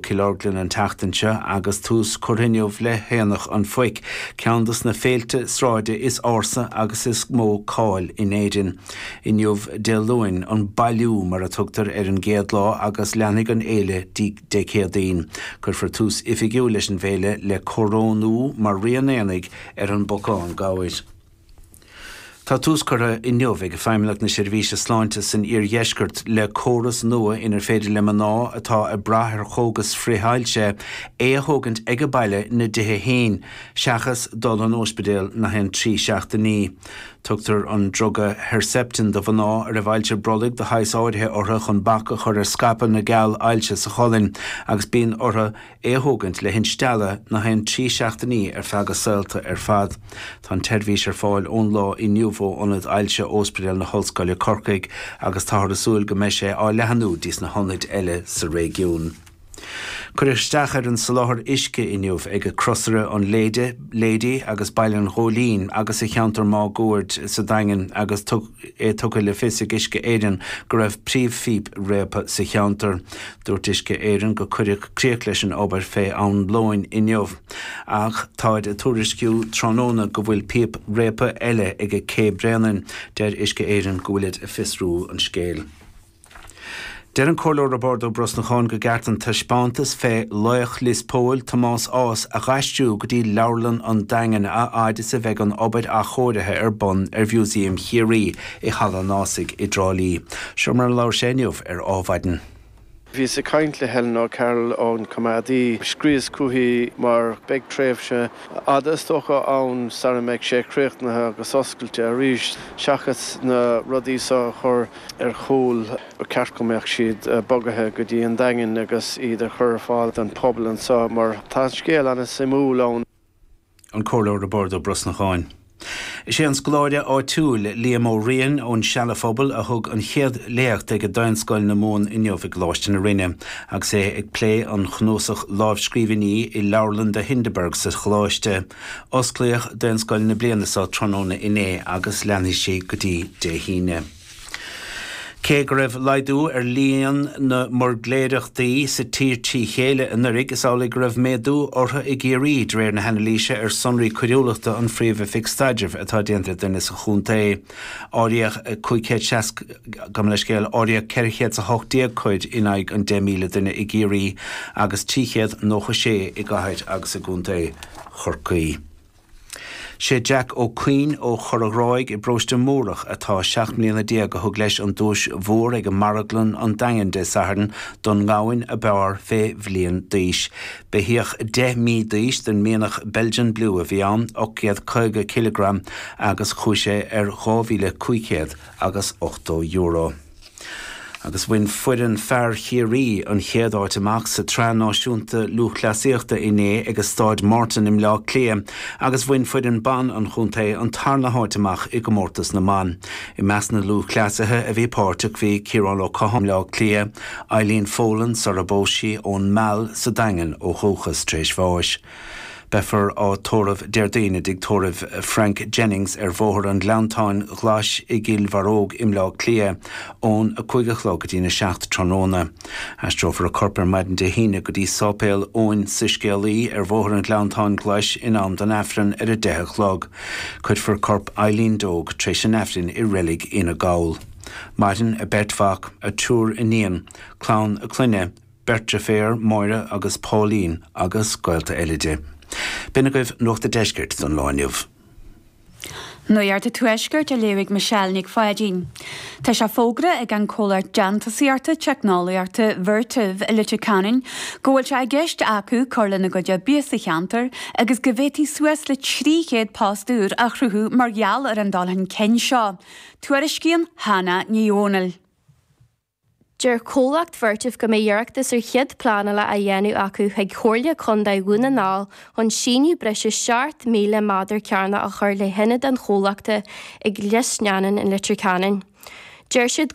Cill Orglan an tseachtain seo agus tús curtha inniu le hAonach an Phoic, ceann dos na féilte sráide is ársa agus is mó cáil in Éirinn. Inniu, Dé Luain, an bailiú mar a tugtar ar an gcéad lá agus leanfaidh an fhéile dtí Dé Céadaoin. Cuirfear tús oifigiúil leis an bhféile le corónú mar Rí an Aonaigh ar an bPocán Gabhair. Tá tús curtha inniu ag Feidhmeannacht na Seirbhíse Sláinte san Iardheisceart le córas nua inar féidir le mná atá ag brath ar chógas frith-ailse é a thógaint ag baile ina dtithe féin seachas dul an óispidéal nach aon 3 seachtainí. Tugtar an druga Herceptin do mhná a raibh ailse brollaigh de shaghas áirithe orthu chun bac a chur ar scaipeadh na gceall ailse sa cholainn agus bíonn orthu é a thógaint le hinstealladh nach aon 3 seachtainí ar feadh a saolta ar fad. Tá an tseirbhís ar fáil ón lá inniu ó Ionad Ailse Óispidéal na hOllscoile Corcaigh agus táthar ag súil go mbeidh sé á leathanú dtí sna hionaid eile sa réigiún. Cuireadh isteach ar an soláthar uisce inniu ag Crosaire an Léide, Lady agus Baile an Ghóilín agus sa cheantar máguaird sa Daingean agus é tugtha le fios ag Uisce Éireann go raibh príomhphíp réabtha sa cheantar. Dúirt Uisce Éireann go cuireadh críoch leis an obair fé am lóin inniu ach táid ag tuairisciú tráthnóna go bhfuil píop réabtha eile ag Cé Bréanainn. Deir Uisce Éireann go bhfuilid ag fiosrú an scéil. Deir an Comhairleoir Roibeárd Ó Brosnacháin go gceart an taispeántas fé laoch Lios Póil, Tomás Ághas, a dh'aistriú go dtí Leabharlann an Daingin a fhaid is a bheidh an obair athchóirithe ar bun ar Mhúsaem Chiarraí i Halla an Ághasaigh i dTrá Lí. Seo mar a labhair sé inniu ar Ádhmhaidin. Bhíos ag caint le Helen O'Carroll ón coimeádaí. Scríos chuici mar beidh tréimhse fhada is dócha ann sara mbeidh sé críochnaithe agus oscailte arís. Seachas na rudaí seo a chur ar chúl, ba cheart go mbeadh siad bogaithe go dtí an Daingean agus iad a chur ar fáil don phobal anseo mar tá an scéal an-suimiúil ann. An Comhairleoir Roibeárd Ó Brosnacháin. Is é an scoláire áitiúil, Liam Ó Riain ón Seala Phobail a thug an chéad léacht ag Daonscoil na Mumhan inniu i gColáiste na Rinne agus é ag plé an chnuasach lámhscríbhinní i Leabharlann de Hindeberg sa Choláiste. Osclaíodh Daonscoil na bliana seo tráthnóna inné agus leanfaidh sí go dtí Dé hAoine. Cé go raibh laghdú ar líon na mbuirgléireachtaí sa tír trí chéile anuraidh, is amhlaidh go raibh méadú orthu i gCiarraí, de réir na hanailíse ar sonraí coiriúlachta an Phríomh-Oifig Staidrimh atá déanta duine sa chontae. Áiríodh 560, gabh mo leithscéal, áiríodh 418 coir in aghaidh an 10,000 duine i gCiarraí agus 396 i gcathair agus i gcontae Chorcaí. Sé Jack Ó Cuinn ó Chora Ghráig i bparóiste Múrach atá 17 mbliana a thug leis an duais mhór ag Marglann an Daingin Dé Sathairn don ngamhain ab fhearr fé bhliain d'aois. Beithíoch 10 mí d'aois den mhianach Belgian Blue a bhí ann, 850 cileagram, agus chuaigh sé ar 2,500 agus €80. Agus bhain foireann fear Chiarraí an chéad áit amach sa tSraith Náisiúnta Lúthchleasaíochta inné ag Staid Morton i mBleá Cliath agus bhain foireann ban an chontae an tarna háit amach i gcomórtas na mban. I measc na lúthchleasaithe a bhí páirteach bhí Ciarán Ó Catháin Bleá Cliath, Eileen Folan sara bpós sí ón Meall sa Daingean ó dhúchas tar éis bháis. Beifear á tórramh Déardaoin i dtigh tórraimh Frank Jennings ar Bhóthar an Ghleanntáin Ghlais i gCill Bharróg i mBleá Cliath ón 5 a chlog go dtína 7 tráthnóna. Aistreofar a corp ar maidin Dé hAoine go dtí Sáipéal Eoin Soiscéalaí ar Bhóthar an Ghleanntáin Ghlais in am don Aifreann ar 10 a chlog. Cuirfear corp Eileen Dogue tar éis an Aifrinn i Reilig Fhine Gall. Maireann a beirt mhac, a triúr iníon, clann a clainne, Beirt deirféar, Máire agus Pauline, agus gaolta eile di. B'in agaibh Nuacht a' Deiscirt don lá inniu. Nuacht a' Tuaiscirt á léamh ag Michelle Nic Pháidín. Tá sé fógartha ag an comhlacht déantúsaíochta teicneolaíochta Vertiv i Leitir Ceanainn go bhfuil sé i gceist acu cur lena gcuid oibre sa cheantar agus go bhféadfaí suas le 300 post úr a chruthú mar gheall ar an dul chun cinn seo. Tuairiscíonn Hannah Ní Dhomhnaill. Deir comhlacht Vertiv go mbeidh iarratas ar chead pleanála á dhéanamh acu chuig Comhairle Contae Dhún na nGall chun síneadh breise 7,000 méadar cearnach a chur le hionad an chomhlachta ag Lios Neanáin in Leitir Ceanainn. Deir siad go.